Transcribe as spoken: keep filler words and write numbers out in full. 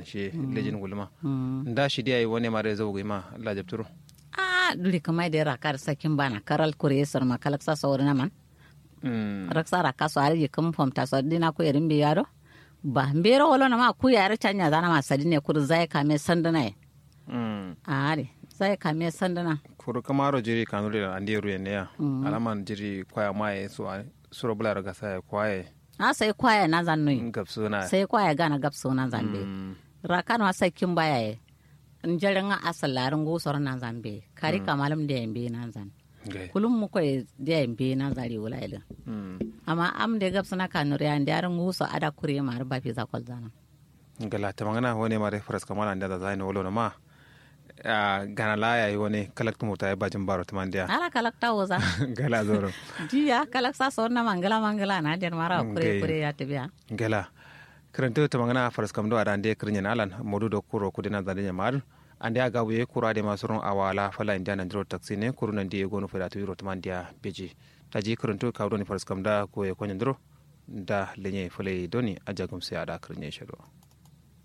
Shi lejin guluma. Nda shi diya yi wane mare zau gima lajabturo. A duri kamai da rakar sakin bana karal kure sar ma kalaksa sauri na man. Raksa raka so ari yikin fomta so dina ku yerin biya do. Ba mbero wolo na ma ku yare canya zana ma sadine kuru zai kame sandana ye. Ari zai kame sandana. Kuru kamaro jiri kanuri da andi ruye ne ya. Alaman jiri kwaya maye so suro bula raga sai kwaye. A sai kwaya na zan nui. Gabsuna. Sai kwaya gana gabsuna zan be. Rakano a sai kin baya ye. Njarin a asal larin gusor na zan be kari kamalum da yan be na zan. Kulum muko ye da yan be na zan riwula ilin. Amma am da gabsuna kanuri an da yarin guso ada kure ma ba fi zakol zana. Gala tamangana wane mare faras kamala nda da zaino wolo ma. Gana la yayi wane kalak tumurta ya bajin baro tumandiya. Ala kalak ta woza. Gala zoro. Diya kalak sa sonna mangala mangala na den mara kure kure ya tabiya. Gala. Kirintu tamangana faras kamdo ada nde kirinyen alan modu do kuro kudina zande nyamar. Ande aga wuye kuro ade masurun awala fala indiya nandiro taksi ne kuru nandi gonu fada tu yuro tumandiya beji. Taji kirintu kawdo ni faras kamda ko ye konyandiro. Da lenye fala doni ajagum sai ada kirinyen shado.